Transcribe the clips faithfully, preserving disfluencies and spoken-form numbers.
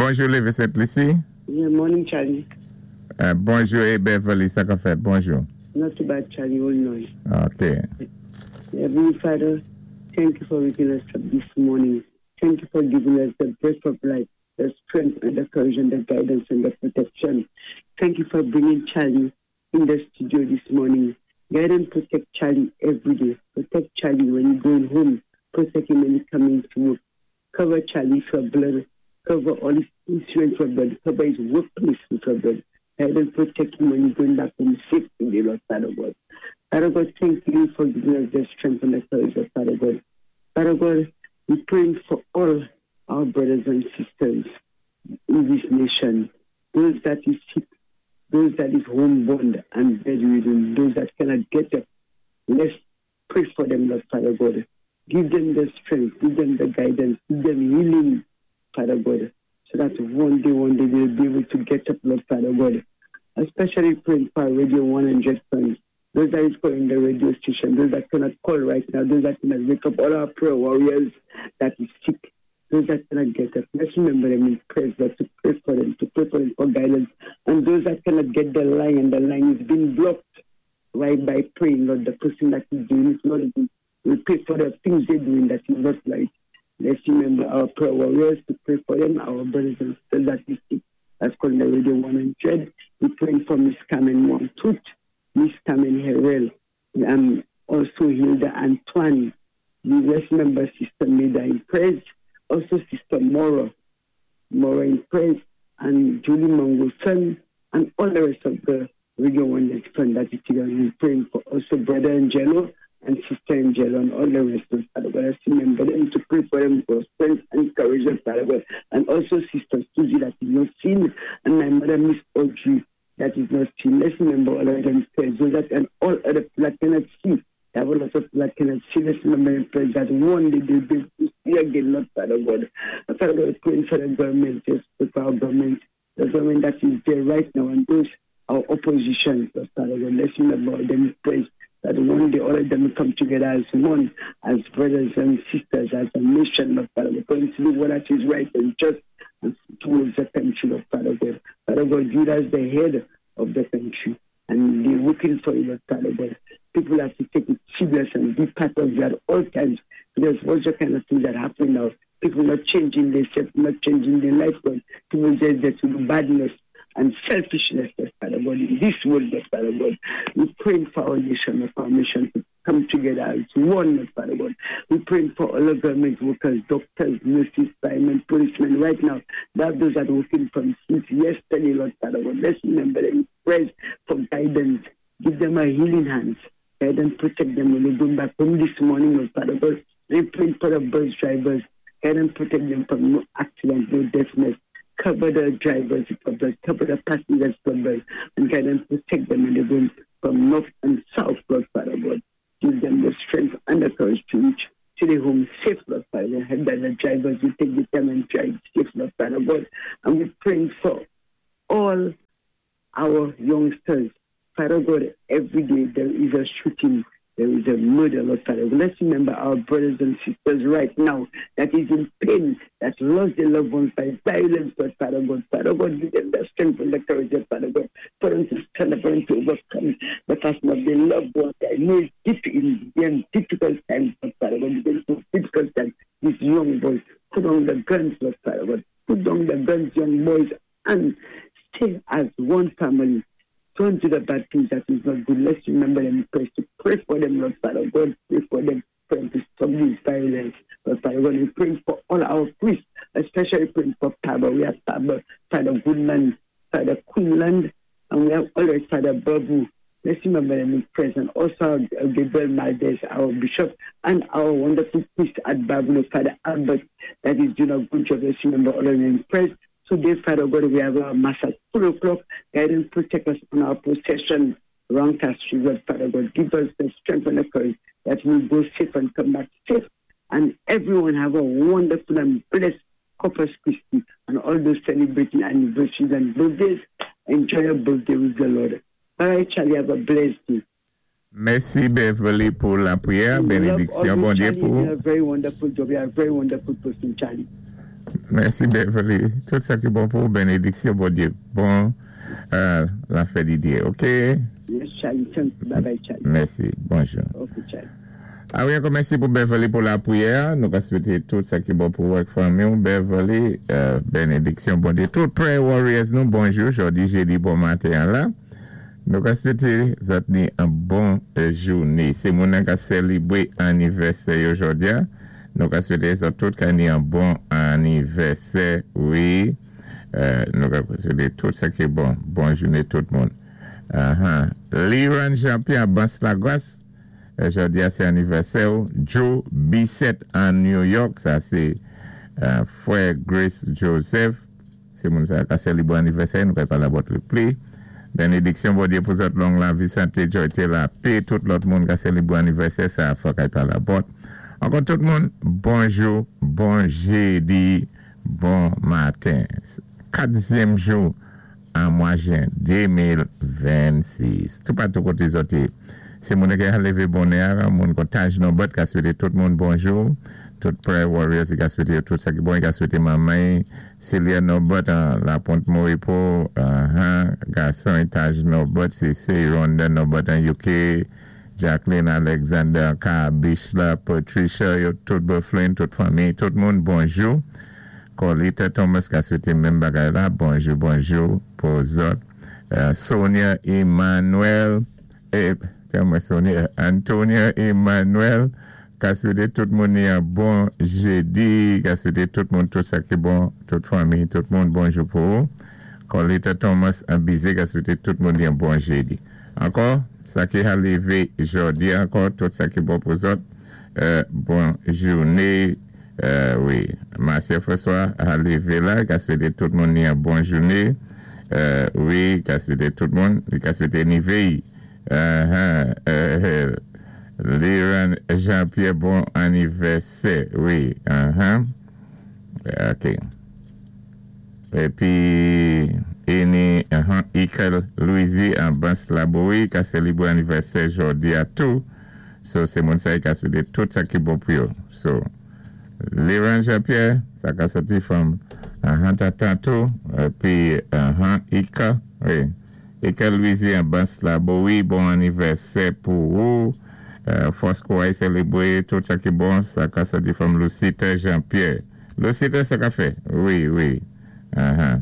Bonjou, Lévis Sainte-Lucie. Yeah, morning, Charlie. Euh, bonjou, é Beverly, sa k ap fèt? Bonjou. Not too bad, Charlie. All night. OK. Heavenly Father, thank you for waking us up this morning. Thank you for giving us the breath of life, the strength and the courage and the guidance and the protection. Thank you for bringing Charlie in the studio this morning. Guide and protect Charlie every day. Protect Charlie when he's going home. Protect him when he's coming to work. Cover Charlie for blood. Cover all his insurance for blood. Cover his workplace with your blood. Guide and protect him when he's going back home safe today, Lord Father God. Father God, thank you for giving us the strength and the courage of Father God. Father God, we praying for all our brothers and sisters in this nation, those that is sick, those that is homebound and bedridden, those that cannot get up. Let's pray for them, Lord Father God. Give them the strength, give them the guidance, give them healing, Father God, so that one day, one day they'll be able to get up, Lord Father God. Especially praying for Radio one hundred friends, those that is calling the radio station, those that cannot call right now, those that cannot wake up, all our prayer warriors that is sick, those that cannot get up. Let's remember them in prayers, Lord, to pray for them, to pray for them for guidance. And those that cannot get the line and the line is being blocked right by praying, Lord, the person that is doing it, Lord, we pray for the things they're doing that is not right. Let's remember our prayer warriors, to pray for them, our brothers and sisters that is sick. That's called the Radio one hundred. We praying for Miss Carmen Montut, Miss Carmen Herrell, and also Hilda Antoine. We let's remember Sister Maida in prayers, also Sister Mora, Mora in prayers, and Julie Mangoson, and all the rest of the Radio one friend that is together. We praying for also Brother Angelo and Sister Angelo and all the rest of Father God. Let's remember them, to pray for them for strength and courage of Father God. And also Sister Susie that is not seen, and my mother, Miss Audrey, that is not seen. Let's remember all of them prayers, so that and all other people that cannot see. There are lots of people that cannot see. Let's remember in prayers that one day they'll be able to see again, Lord Father God. Father God, praying for the government, yes, for our government, the government that is there right now, and those our opposition, Lord Father God. Let's remember them in prayers that one day all of them will come together as one, as brothers and sisters, as a nation, Lord Father God, going to do what that is right and just and towards the country, Lord Father God. Father God, you as the head of the country, and they're working for you, Lord Father God. People have to take it serious and be part of it at all times, because what's the kind of things that happen now? People not changing themselves, not changing their life, but people just there to do badness and selfishness, Lord Father God, in this world, Lord Father God. We pray for our nation, for our nation to come together as one, Lord Father God. We pray for all the government workers, doctors, nurses, firemen, policemen right now. That those that are working from since yesterday, Lord Father God. Let's remember them. Pray for guidance. Give them a healing hand. Guide and protect them when they go back home this morning, Lord Father God. We pray for the bus drivers. Guide and protect them from no accident, no deafness. Cover the drivers with blood, cover the passengers with blood, and guide and protect them when they go from north and south, Lord Father God. Give them the strength and the courage to reach to the home safe, Lord Father God. Help that the drivers will take the time and drive safe, Lord Father God. And we're praying for all our youngsters. Father God, every day there is a shooting, there is a murder, Lord Father. Let's remember our brothers and sisters right now that is in pain, that lost their loved ones by violence, Lord Father God. Father God, give them the strength and the courage, Lord Father God, for them to stand up and to overcome the passing of their loved ones. I know it's difficult in difficult times, Lord Father God. These difficult times, these young boys, put on the guns, Lord Father God. Put down the guns, young boys, and stay as one family. Don't do the bad things that is not good. Let's remember them, pray to pray for them, Lord Father God. Pray for them, pray to stop this violence. Lord Father God, we pray for all our priests, especially praying for Papa. We have Papa, Father Goodman, Father Quinland, and we have always Father Babu. Let's remember them in prayer. And also Gabriel Maldes, our bishop, and our wonderful priest at Babylon, Father Albert, that is doing a good job. Let's remember all of them in prayer. Today, Father God, we have our Mass at four o'clock. Guide and protect us on our procession around Castries, Lord Father God. Give us the strength and the courage that we'll go safe and come back safe. And everyone have a wonderful and blessed Corpus Christi and all those celebrating anniversaries and birthdays. Enjoy your birthday with the Lord. All right, Charlie, have a blessed day. Mèsi, Beverly, pou lapwiyè. Benediksyon, Bondye pou. You're a very wonderful job. You're a very wonderful person, Charlie. Mèsi Beverly. Tout sa ki bon pou bénédiksyon, Bondyé. Bon, euh, la fèt Didier, OK? Yes, Charlie. Thank you. Bye bye, Charlie. Mèsi. Bonjou. OK, Charlie. A wi, ankò mèsi pou Beverly pou lapriyè. Nou ka swété tout sa ki bon pou ak fanmi. Beverly, euh, bénédiksyon, Bondyé. Tout prayer warriors nou, bonjou. Jòdi, jédi, bon maten la. Nou ka swété zòt ni an bon jouné. Sé moun ka sélébwé anivèsè jòdi. Nou ka swété zòt tout ka ni an bon anivèsè, wi. Euh, nou ka swété tout sa ki bon. Bon jouné tout moun. Uh-huh. Liran Jean-Pierre Bans-Lagos, jòdi sé anivèsè. Joe Bissett an New York, sa sé euh, frè Grace Joseph. Sé moun sa ka sélébwé anivèsè, nou ka palé about li pli. Bénédiksyon Bondyé pou zòt long lavi, santé, jwa, lapè, tout lòt moun ka sélébwé anivèsè, sa fò kay palé about. Ankò tout moun, bonjou, bon jédi, bon maten. Katzyèm jou an mwa jen de mil vennsis. Tout patou koté zòt yé. Sé moun ki a lévé bonè, moun kon Taj Nobert ka swété tout moun bonjou. Tout prayer warriors ki ka swété tout sa ki bon, ki ka swété manman Celia Nobert an La Pointe Moripo, uh-huh, gason Taj Nobert, sé sé Rhonda Nobert an U K, Jacqueline Alexander, Ka Bishla, Patricia, yo tout Bufflin, tout fanmi, tout moun bonjou. Colita Thomas ka swété menm bagay la, bonjou, bonjou pou zòt. Euh, Sonia Emmanuel, eh, mwen Sonia, Antonia Emmanuel, ka swété tout moun yon bon jédi, ka swété tout moun tout sa ki bon, tout fanmi, tout moun bonjou pou. Colita Thomas an Bizé ka swété tout moun yon bon jédi. Ankò, sa ki a lévé jòdi ankò, tout sa ki bon pou zòt, euh, bon jouné, euh, wi, Marcia François a lévé la, ka swété tout moun yon bon jouné, euh, wi, ka swété tout moun, ka swété ni véy, uh-huh, euh, Liran Jean-Pierre, bon anivèsè, wi, uh-huh. OK. Épi, Eni, uh-huh, Ikel Louisi an Bans Laboui, ka sélébwé anivèsè jòdi a tou. So, sé moun sa ka swété tout sa ki bon pou yo. So, Liran Jean-Pierre, sa ka sòti from uh-huh, tantou, épi, uh-huh, Ika, wi. Ikel Louisi an Bans Laboui, bon anivèsè pou ou. Euh, Fosco a sélébwé tout sa ki bon, sa ka sòti from Lucita Jean-Pierre. Lucita, sa ka fè? Wi, wi. Uh-huh.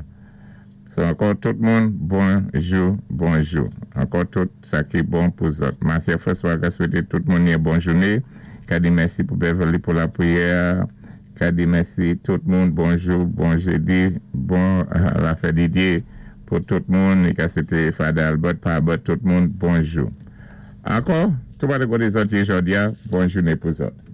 So, ankò tout moun, bonjou, bonjou. Ankò tout sa ki bon pou zòt. Marcia François ka swété tout moun yon bon jouné. Ka di mèsi pou Beverly pou lapriyè. Ka di mèsi tout moun, bonjou, bon jédi, bon la fèt Didier pou tout moun. Ka swété Father Albert, Pa Albert, tout moun, bonjou. Ankò, tout pa de koté zòt jòdi a, bon jouné pou zòt.